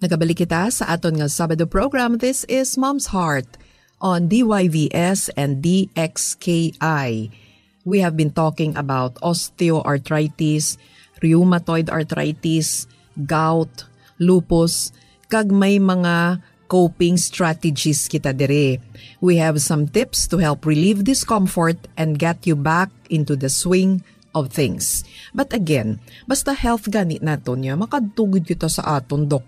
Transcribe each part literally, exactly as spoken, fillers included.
Nagabalik kita sa aton nga Sabado program. This is Mom's Heart on D Y V S and D X K I. We have been talking about osteoarthritis, rheumatoid arthritis, gout, lupus, kag may mga coping strategies kita diri. We have some tips to help relieve discomfort and get you back into the swing of things. But again, basta health gani naton niya, makadto gid kita sa aton doktor.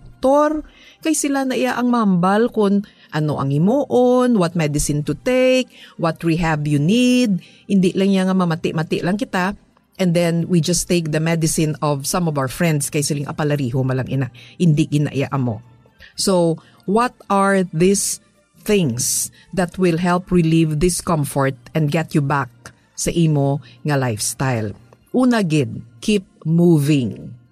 Kay sila na iya ang mambal kung ano ang himuon, what medicine to take, what rehab you need. Hindi lang niya nga mamati-mati lang kita. And then we just take the medicine of some of our friends kay siling apalariho malang ina. Hindi gina iya amo. So, what are these things that will help relieve discomfort and get you back sa imo nga lifestyle? Una gid, keep moving.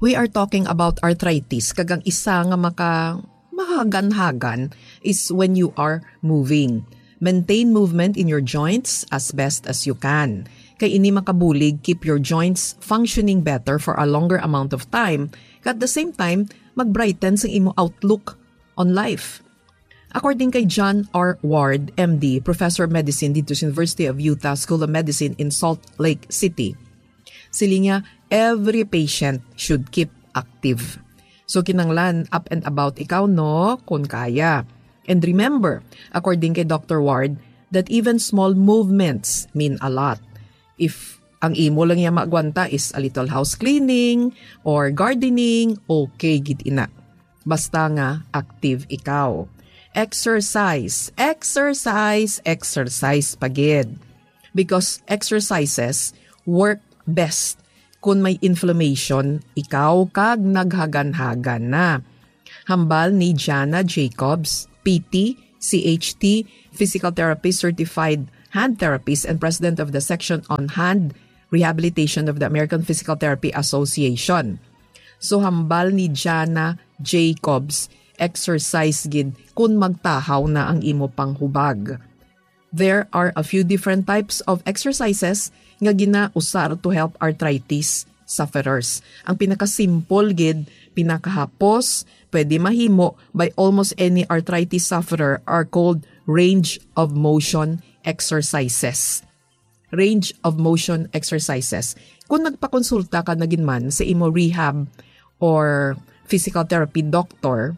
We are talking about arthritis, kag ang isa nga maka mahagan-hagan is when you are moving. Maintain movement in your joints as best as you can. Kay ini makabulig keep your joints functioning better for a longer amount of time, kag at the same time, mag-brighten sa imo outlook on life. According kay John R. Ward, M D, Professor of Medicine dito sa University of Utah School of Medicine in Salt Lake City, siling niya, every patient should keep active. So, kinanglan up and about ikaw, no, kung kaya. And remember, according kay Doctor Ward, that even small movements mean a lot. If ang imo lang niya maagwanta is a little house cleaning or gardening, okay gid ina. Basta nga active ikaw. Exercise, exercise, exercise pa gid. Because exercises work best kung may inflammation ikaw kag naghaganhagan na. Hambal ni Jana Jacobs, P T, C H T, physical therapist, certified hand therapist, and president of the section on hand rehabilitation of the American Physical Therapy Association. So, hambal ni Jana Jacobs, exercise gid kun magtahaw na ang imo panghubag. There are a few different types of exercises nga ginausar to help arthritis sufferers. Ang pinakasimple gid, pinakahapos, pwede mahimo by almost any arthritis sufferer are called range of motion exercises. Range of motion exercises. Kung nagpakonsulta ka na gid man sa imo rehab or physical therapy doctor,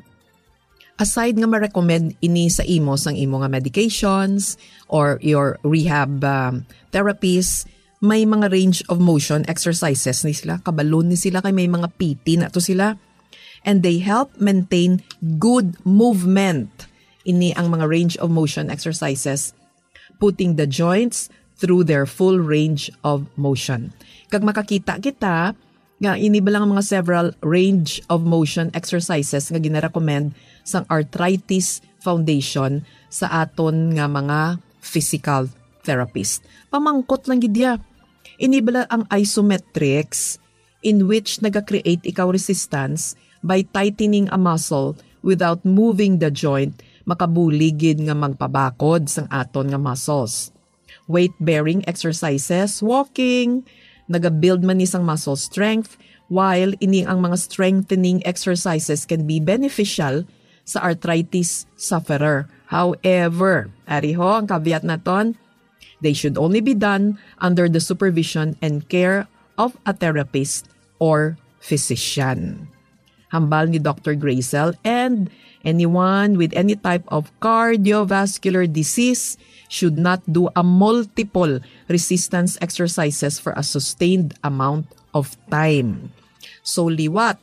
aside nga ma-recommend ini sa imo sang imo nga medications or your rehab, um, therapist, may mga range of motion exercises ni sila. Kabalo ni sila kay may mga P T na to sila. And they help maintain good movement. Ini ang mga range of motion exercises, putting the joints through their full range of motion. Kag makakita kita nga ini bala nga mga several range of motion exercises nga ginarecommend sang Arthritis Foundation sa aton nga mga physical therapist. Pamangkot lang gid ya. Ini bala ang isometrics in which naga-create ikaw resistance by tightening a muscle without moving the joint, makabulig gid nga magpabakod sang aton nga muscles. Weight-bearing exercises, walking, nagabuild man ni sang muscle strength, while ini ang mga strengthening exercises can be beneficial sa arthritis sufferer. However, ari ho ang caveat naton, they should only be done under the supervision and care of a therapist or physician. Hambal ni Doctor Grazel, and anyone with any type of cardiovascular disease should not do a multiple resistance exercises for a sustained amount of time. So, liwat,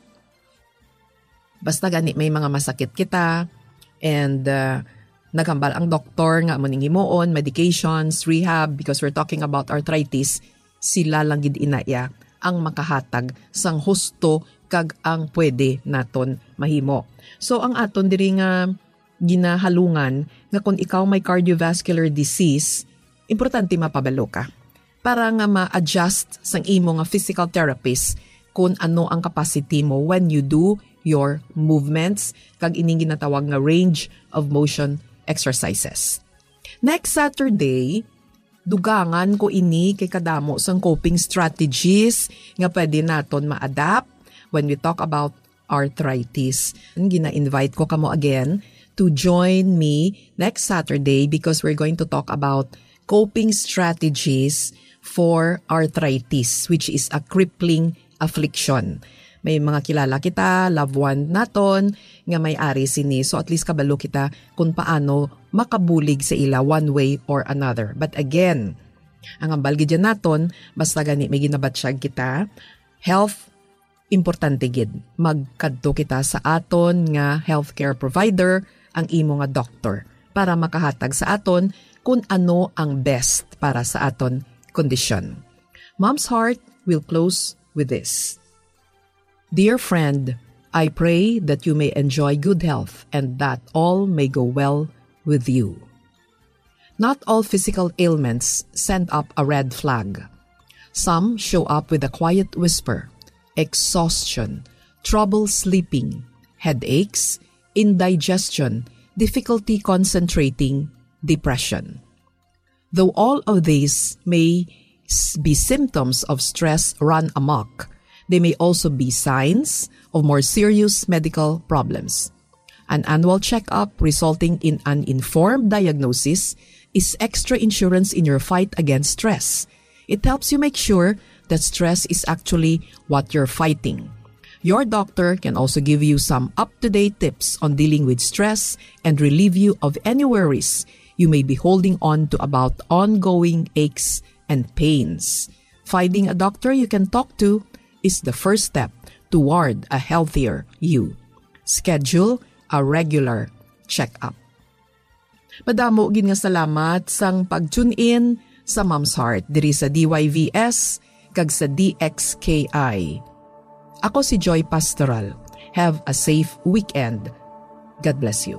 basta gani may mga masakit kita, and, uh, naghambal ang doktor nga amo ning himuon, medications, rehab, because we're talking about arthritis, sila lang gid ina iya ang makahatag sang husto kag ang pwede naton mahimo. So, ang aton diri nga ginahalungan nga kung ikaw may cardiovascular disease, importante mapabalo ka para nga ma-adjust sang imo nga physical therapist kung ano ang capacity mo when you do your movements, kag ining ginatawag nga range of motion exercises. Next Saturday, dugangan ko ini kay kadamo sang coping strategies nga pwede naton ma-adapt when we talk about arthritis. Gina-invite ko kamo again to join me next Saturday because we're going to talk about coping strategies for arthritis, which is a crippling affliction. May mga kilala kita, loved one naton, nga may ari sini. So at least kabalo kita kung paano makabulig sa ila one way or another. But again, ang hambal gid dyan naton, basta gani may ginabatyag kita, health, importante gid. Magkadto kita sa aton nga healthcare provider, ang imo nga doctor, para makahatag sa aton kung ano ang best para sa aton kondisyon. Mom's Heart will close with this. Dear friend, I pray that you may enjoy good health and that all may go well with you. Not all physical ailments send up a red flag. Some show up with a quiet whisper: exhaustion, trouble sleeping, headaches, indigestion, difficulty concentrating, depression. Though all of these may s- be symptoms of stress run amok, they may also be signs of more serious medical problems. An annual checkup resulting in an informed diagnosis is extra insurance in your fight against stress. It helps you make sure that stress is actually what you're fighting. Your doctor can also give you some up to date tips on dealing with stress and relieve you of any worries you may be holding on to about ongoing aches and pains. Finding a doctor you can talk to is the first step toward a healthier you. Schedule a regular checkup. Madamo gid nga salamat sang pag-tune in sa Mom's Heart diri sa D Y V S kag sa D X K I. Ako si Joy Pastoral. Have a safe weekend. God bless you.